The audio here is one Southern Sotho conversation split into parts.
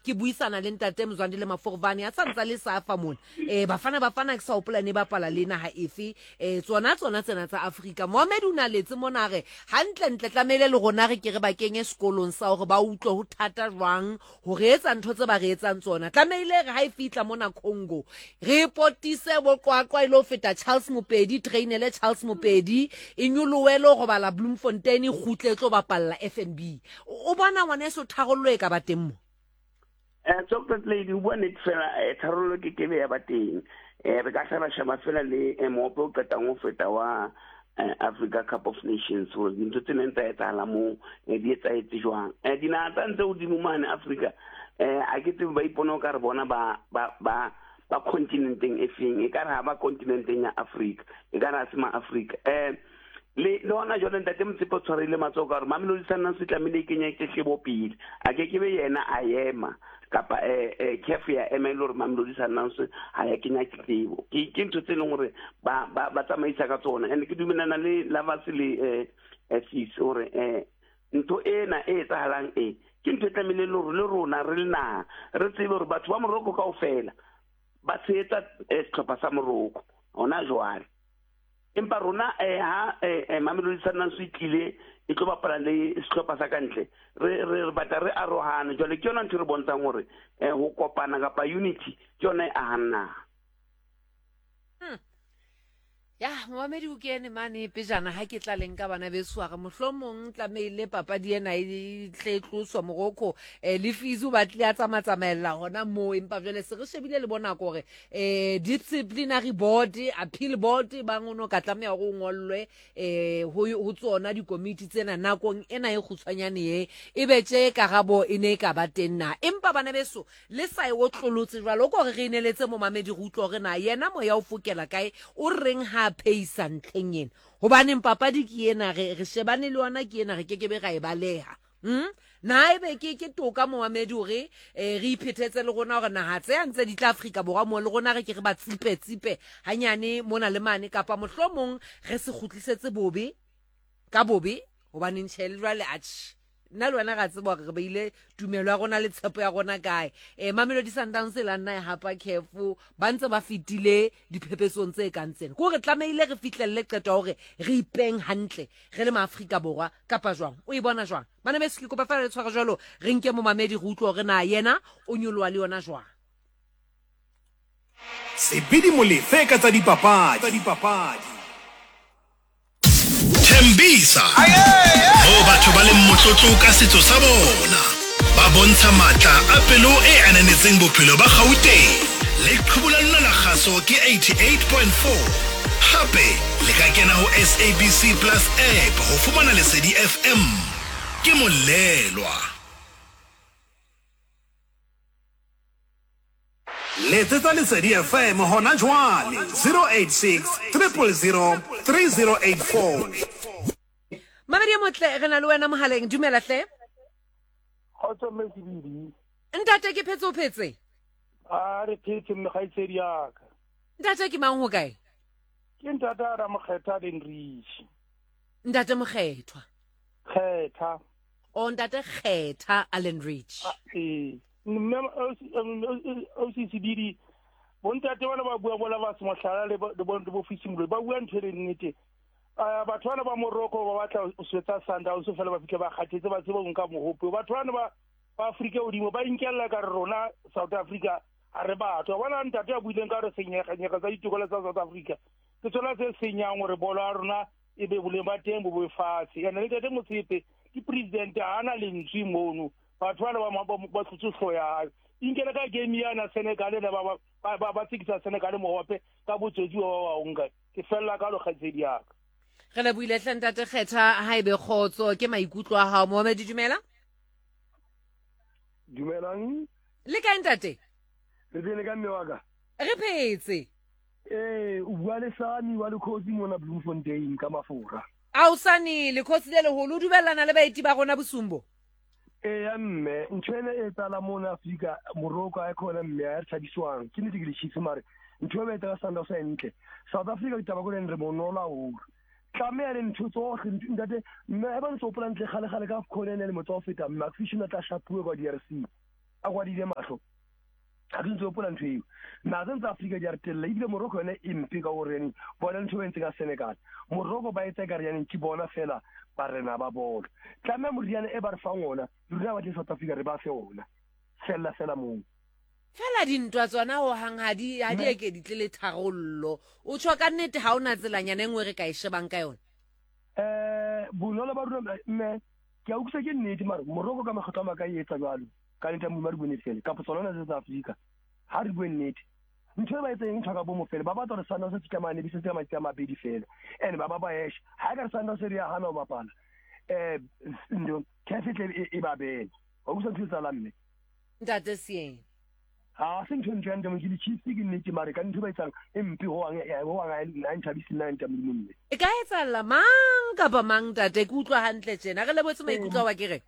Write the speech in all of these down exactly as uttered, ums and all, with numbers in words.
Ke buisana le ntate Mzwandile Maforvane a sa ntsa le safa mona. Eh Bafana Bafana ke sa hopola ne bapala le naha efe, eh tsona tsona tsena tsa Afrika. Mohammed o na letse mona re hantle ntle tlamehile le rona re ke re ba kenye sekolong sa hore ba utlwe ho thata jwang ho re etsa ntho tse ba re etsang tsona. Tlamehile re ha e fihla mona Congo re potise bo Qwaqwa e lo feta Charles Mopedi, trainele Charles Mopedi e nyolohe le ho robala Bloemfontein, e kgutle e tlo bapalla F N B. O bona ngwaneso tharollo e ka ba teng mo? Eh, Chocolate Lady, o bua nnete fela, eh, tharollo ke kebe ya ba teng. Eh, re ka hla ra sheba fela le, eh, mohope o qetang ho feta wa, eh, Africa Cup of Nations, hore dintho tse neng tsa etsahala moo, eh, di etsahetse jwang. Eh, dinaha tsa ntse hodimo mane Afrika, eh, ha ke tsebe ba ipone o ka re bona ba, ba, ba, ba continenteng e feng, e ka re ha ba continenteng ya Afrika, e ka re ha se ma Afrika. Eh, le, le hona jwale ntate Motsepe o tshwarile matsoho ka hore Mamelodi Sundowns e tlamehile e kenye tletlebo pele. A ke ke be yena a ema kapa, eh, eh, C A F ya ema e le hore Mamelodi Sundowns ha ya kenya tletlebo. Ke, ke ntho tse leng hore ba, ba, ba tsamaisa ka tsona. And ke dumellana le Lavas le, eh, eh, Sis hore, eh, ntho ena e etsahalang e, ke ntho e tlamehileng le hore le rona re le naha re tsebe hore batho ba Morocco kaofela ba tshehetsa, eh, sehlopha sa Morocco hona jwale. Empa rona, eh, ha, eh, eh, Mamelodi Sundowns e tlile e tlo bapala le sehlopha sa kantle, re, re, re batla re arohane. Jwale ke yona ntho e re bontshang hore, eh, ho kopana kapa unity ke yona e ahang naha. Hmm. Ya, momamedi o kene mane pejana ha ke tla leng ka bana beso a re mohlomong tlamehile papadi ena e tle e tloswa Morocco, eh, le Fizu ba tle a tsamatsamaella hona moo, empa jwale se re shebile le bona hore, eh, disciplinary board, appeal board ba ngono ka tlameha hore o ngollwe, eh, ho, ho tsona dikomiti tsena nakong ena e kgutshwanyane e, e be tje karabo e ne e ka ba teng na. Empa bana beso le sa e otlolotse jwalo, o ko re re ineletse momamedi re utlwe hore na yena moya o fokela kae, o reng ha pheisa ntlheng ena, hobaneng papadi ke ena, re, re shebane le yona ke ena, re kekebe ra e baleha. Hmm? Na ebe ke, ke toka momamedi hore, eh, re iphethetse le rona hore naha tse ntse di tla Afrika Borwa mo le rona re ke re ba tsipe tsipe hanyane mona le mane, kapa mohlomong re se kgutlisetse bobe ka bobe, hobaneng tjhe le jwale atjhe nna le wena ra tseba hore re beile tumelo ya rona le tshepo ya rona kae. Eh, Mamelodi Sundowns e la nna e hapa C A F, ba ntse ba fetile diphepetsong tse kang tsena. Ke hore tlamehile re fihlelle qeto ya hore re ipeng hantle re le maAfrika Borwa kapa jwang. O e bona jwang? Bana beso, ke kopa feela le tshware jwalo, re nke momamedi re utlwe hore na yena o nyoloha le yona jwang. Sebidi Molefe ka tsa dipapadi. Tembisa, moo batho ba leng motlotlo ka setso sa bona, ba bontsha matla a pelo e ananetseng bophelo ba Gauteng. Leqhubu la lona la kgaso ke eighty-eight point four. Hape le ka kena ho S A B C Plus app ho fumana Lesedi F M. Ke Molelwa. Letsetsa Lesedi F M hona jwale zero eight six, triple zero, three zero eight four. Mamedi e motle, re na le wena mohaleng. Dumela hle. Kgotso mme Sebidi. Ntate ke phetse o phetse? A re phetse mme kgaitsedi ya ka. Ntate ke mang ho kae? Ke ntate a Ramokgetha le Nrishi. Ntate Mokgethwa. Kgetha. O ntate Kgetha Allen Rich. Ah, eh. Mme O C Sebidi, bontate bana ba bua bola ba se mohlala le bo, le bo, le bo Fisi Moloi, ba bua ntho e leng nnete. Ah, batho bana ba Morocco ba batla ho swetsa Sundowns fela ba fihle ba kgathetse, ba tsebe ho nka mohope. Batho bana ba, ba Afrika hodimo ba inkella ka re rona South Africa ha re batho. Wa bona ntate a buileng ka re senyega-nyega tsa ditokelo tsa South Africa, ke tsona tse senyang hore bolo ya rona e be boleng ba teng bo bo fatshe. Ene le ntate Motsepe ke president, ha ana lentswe mono. Batho bana ba ma-, ba, ba tlotse hlooho ya hae. Inkele ka game yana Senegal le ba, ba, ba, ba, ba tsekisa Senegal mohope ka botsotsi ba ba ba nka. Ke fella ka lo kgaitsedi ya ka. Re lebohile hle ntate Kgetha, ha ebe kgotso ke maikutlo a hao. Mohamedi, dumela. Dumelang. Le kae ntate? Re teng ka mme wa ka? Re phetse. Eh, o bua le Sani wa Lekhosi mona Bloemfontein ka Mafora. Ao Sani, Lekhosi le leholo, o dumellana le baeti ba rona bosumbo? Eya mme, ntho ena e etsahala mona Afrika, Morocco ha e khona mme, ha re thabiswang. Ke nnete ke le Chiefs mare ntho e ba etsang ka Sundowns ha e ntle. South Africa ditaba ko leng re bonolo haholo. Tlameha le ntho tsohle, ntho, ntate, mme ha ba ntse hopola ntle kgale-kgale ka AFCON ene le motsa ho feta, mme Mark Fisher o ne a tla shapuwe kwa D R C. a kwadile mahlo ga ke ntse hopola ntho eo naha tse tsa Afrika di a re tella ebile Morocco yone e mpe ka gore yaneng bona ntho e entse ka Senegal Morocco ba etsa ekare yaneng ke bona fela barena ba bolo tlameha moriana e ba re fang ona le rona ba tle South Africa re ba fe ona fella fela moo fela dintwa tsona ho hang ha di ha di eke di tle le tharollo o tjho ka nnete ha ona tselanyana e nngwe re ka e shebang ka yona eh bonolo ba rona mme ke a utlwisa ke nnete mare Morocco ka makgetlo a maka e etsa jwalo ka nnete ya Modimo ha re bue nnete fela kapa tsona tse tsa Afrika ha re bue nnete ntho e ba etseng ntho ka bomo fela ba batla hore Sundowns se fitlha mane be se tse matsatsi a mabedi fela and ba ba ba esha ha e ka re Sundowns re ya hana ho bapala eh ndo C A F e tle e e ba bele wa utlwisa ntho e etsahalang mme ntate Sieng ha se ntho e ntle ya ntate ke di-Chiefs ke nnete mare ka ntho e ba etsang e mpe hohang hohang ha e nthabise nna ntate Modimo mme e ka etsahalla mang kapa mang ntate ke utlwa hantle tjena re lebotse maikutlo a wa ke re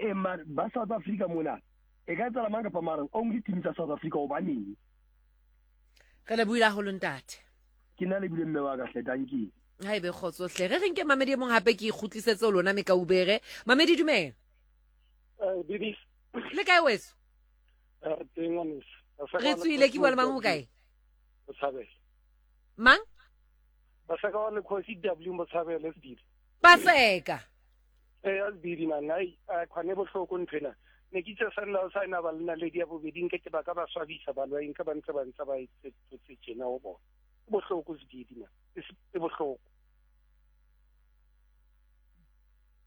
e mare ba South Africa mona e ka etsahala mang kapa mang only team tsa South Africa hobaneng re lebohile haholo ntate ke nna lebile mme wa ka hle dankie ha ebe kgotso hle re re nke mamedi e mong hape ke ikgutlisetse ho lona mekaubere mamedi dumela eh Bibi le kae weso eh teng ngwaneso re tswile ke bua le mang ho kae Motshabele mang Paseka wa Lekgosi W Motshabele Sebidi Paseka eh Sebidi man ai khwane bohloko nthwena ne ke itse Sundowns ha ena ba le naledi ya bobedi nke ke ba ka ba swabisa ba lwa nka ba ntse ba ntse ba etse tjena ho bona bohloko Sebidi man e bohloko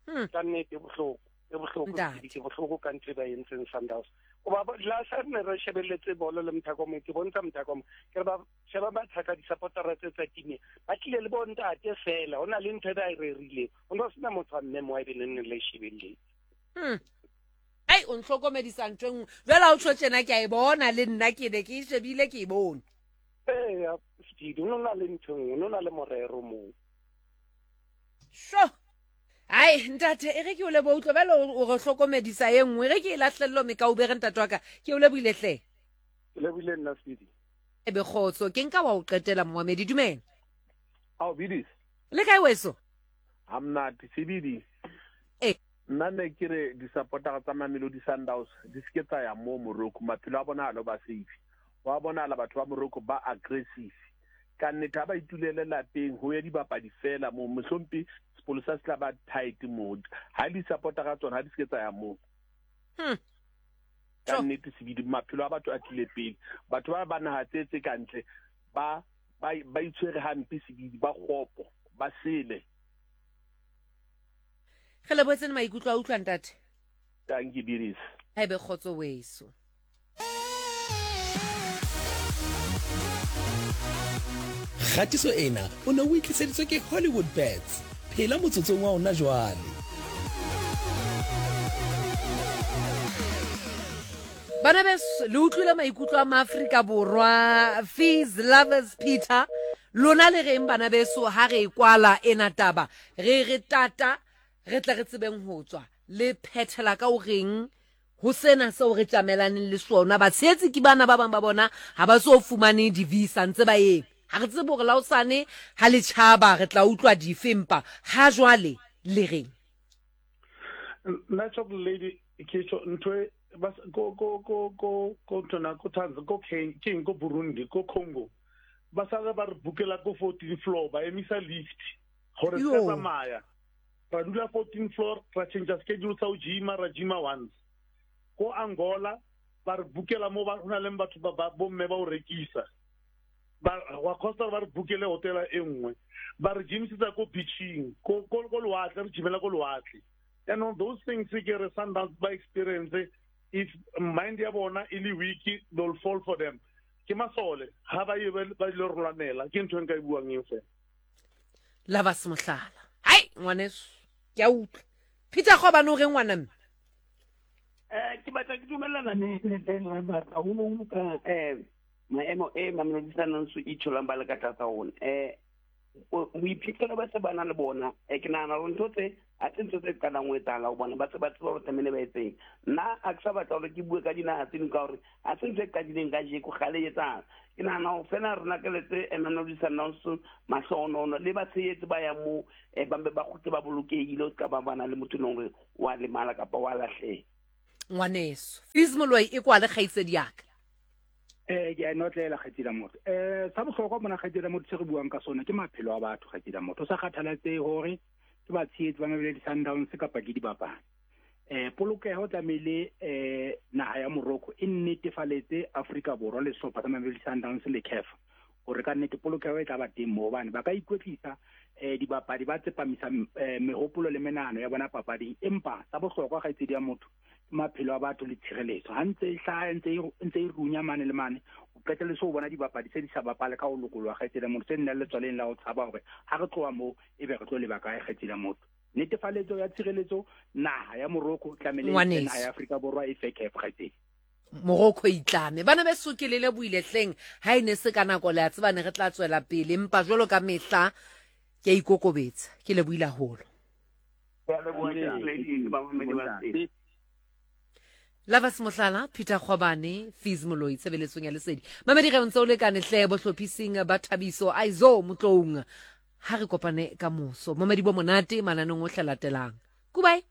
hmm ka nnete bohloko e bohloko Sebidi ke bohloko ka ntho e ba entseng Sundowns o ba la sa ne re shebelletse bolo le Mthako mo ke bontsha Mthako mo ke re ba sheba ba thaka di-supportera tse tsa team ba tlile le bontate fela ho na le ntho e ba e rerileng ho no sena motho wa mme mo a e be neng le shebelletse hmm ai o ntlhokomedisa ntho e nngwe jwale ha o tjho tjena ke a e bona le nna ke ne ke e shebile ke e bone eya Sebidi o no na le ntho e nngwe o no na le morero moo sho ai ntate e re ke o leboha utlwa bjale o re hlokomedisa e nngwe e re ke e lahlello mekaubere ntate wa ka ke o lebohile hle ke lebohile nna Sebidi e be kgotso ke nka wa o qetela momamedi dumela ao Bidis le kae weso ha monate Sebidi e nna ne ke re di-supportera tsa Mamelodi Sundowns di se ke tsa ya moo Morocco maphelo a bona ha lo ba safe wa bonahala batho ba Morocco ba aggressive ka nnete ha ba itulele lapeng ho ya dibapadi fela moo mohlompe sepolesa se tla ba tight moo ha di-supportera tsona ha di se ke tsa ya moo hmm ka nnete Sebidi maphelo a batho a tlile pele batho ba ba naha tse tse kantle ba ba ba itshwere hampe Sebidi ba kgopo ba sele re lebohetse le maikutlo a utlwa ntate thank you Bidis ha ebe kgotso weso Kgatiso ena o ne o itliseditswe ke Hollywood Bets phela motsotsong wa ona jwale bana beso le utlwile maikutlo a maAfrika Borwa Fees Lovers Peter lona le reng bana beso ha re e kwala ena taba re re tata re tla re tsebeng ho tswa le phethela ka o reng ho sena seo re tjamelaneng le sona batshehetsi ke bana ba bang ba bona ha ba so fumane di-visa ntse ba eme ha re tsebe hore la hosane ha le tjhaba re tla utlwa dife empa ha jwale le reng nna chocolate lady ke tjho ntho e ba ko ko ko ko ko ntona ko Tanzania ko Kenya ke ko Burundi ko Congo ba sala ba re bukela ko fourteen floor ba emisa lift gore Yo. se tsamaya ra dula fourteen floor ra change schedule sa ho gym-a ra gym-a once ko Angola ba re bukela mo ba hona le batho ba ba bomme ba o rekisa ba wa costa ba re bukele hotela e nngwe ba re gymisetsa ko beaching ko ko ko lewatle re gymela ko lewatle jaanong those things ke re Sundowns ba experience if mind ya bona e le weak they'll fall for them ke masole ha ba ye ba ba ile re lwanela ke ntho e nka e buang eo fela Lovers Mohlala hai ngwaneso ke a utlwa Peter Gobane o reng ngwana mme eh ke batla ke dumellana le le le haholoholo ka eh maemo e Mamelodi Sundowns e tholang ba le ka tlasa ona eh boiphihlelo ba se ba nang le bona eh ke nahana hore ntho tse ha se ntho tse qalang ho etsahala ho bona ba se ba tseba hore tlamehile ba etseng nna ha ke sa batla hore ke bue ka dinaha tse ding ka hore ha se ntho e qadileng kajeko kgale e etsahala ke nahana hore fela rona ke letse Mamelodi Sundowns mahlohonono le batshehetsi ba yang moo eh ba mpe ba kgutle ba bolokehile o ska ba bana le motho e leng hore wa lemala kapa wa lahleha Ngwaneso Fees Moloi e kwale kgaitsedi ya ka. Eh ke a notlela kgaitsedi ya motho. Eh sa bohlokwa mona kgaitsedi ya motho se re buang ka sona ke maphelo a batho kgaitsedi ya motho. Sa kgathalatsehe hore ke batshehetsi ba Mamelodi Sundowns kapa ke dibapadi. Eh polokeho tlamehile eh naha ya Morocco e nnetefaletse Afrika Borwa le sehlopha sa Mamelodi Sundowns le C A F hore ka nnete polokeho e tla ba teng moo, hobane ba ka ikwetlisa eh dibapadi ba tsepamisa mehopolo le menahano ya bona papading, empa sa bohlokwa kgaitsedi ya motho maphelo a batho le tshireletso. Ha ntse e hlaha ntse ntse e runya mane le mane, o qetelle so o bona dibapadi tse di sa bapale ka ho lokoloha kgaitsedi ya motho, tse nna le letswaleng la ho tshaba hore ha re tloha moo e be re tlo leba kae kgaitsedi ya motho. Netefaletso ya tshireletso naha ya Morocco tlamehile naha ya Afrika Borwa e fe C A F kgaitsedi. Morocco itlame bana beso ke le lebohile hleng ha e ne se ka nako le a tseba ne re tla tswela pele, empa jwalo ka mehla ke a ikokobetsa, ke lebohile haholo. Lavas Mohlala, Peter Khwabane, Fees Moloi, tshebeletsong ya lesedi. Mamedi re ntse o lekane hle bohlophising ba Thabiso Aizo Motloung. Ha re kopane ka moso. Mamedi bo monate mananeng ohle latelang. Goodbye.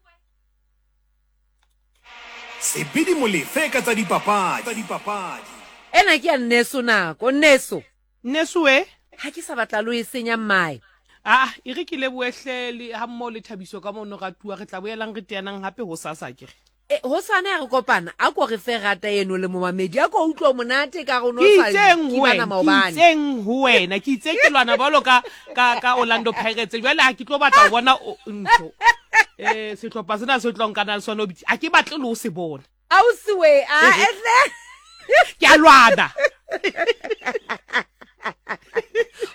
Sebidi Molefe ka tsa dipapadi. Tsa dipapadi. Ena ke ya Nneso nako, Nneso. Nneso we? Ha ke sa batla lo e senya mmae. Ah, e re ke lebohe le ha mmoho le Thabiso ka mono ratuwa, re tla boelang re teanang hape ho sasa ke re. E ho sane re kopana a ko re fe rata eno le momamedi a ko utlwa monate ka rona o sa kibana maobane. Ke itseng ho wena, ke itse ke lwana bolo ka ka ka Orlando Pirates jwale ha ke tlo batla ho bona ntho. Eh sehlopha sena se tlo nkana le sona obitsi a ke batle le ho se bona. Ausi we a etle ke a lwana.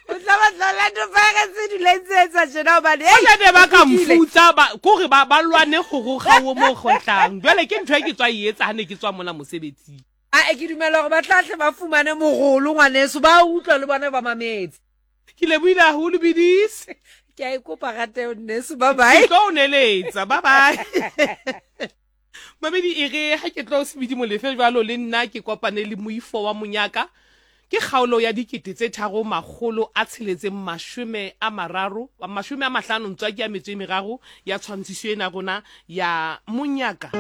O tla batla Orlando Pirates di letsetsa tjena hobane ei ne ba ka mfutsa ba kore ba ba lwane go roga wo mo gotlang jwale ke ntho e ke tswa e etsa ha ne ke tswa mona mosebetsing. A e ke dumela hore ba tla hle ba fumane mogolo ngwaneso ba utlwa le bona ba mametse. Ke lebohile haholo bidis. Ke a ikopa rate nneso, bye bye. Ke tlo o neletsa, bye bye. Mamedi e re ha ke tlo Sebidi Molefe jwalo le nna ke kopane le moifo wa monyaka. Ke kgaolo ya dikete tse tharo makgolo a tsheletseng mashome a mararo mashome a mahlano ntswa ke ya metso e meraro ya tshwantshiso ena rona ya monyaka.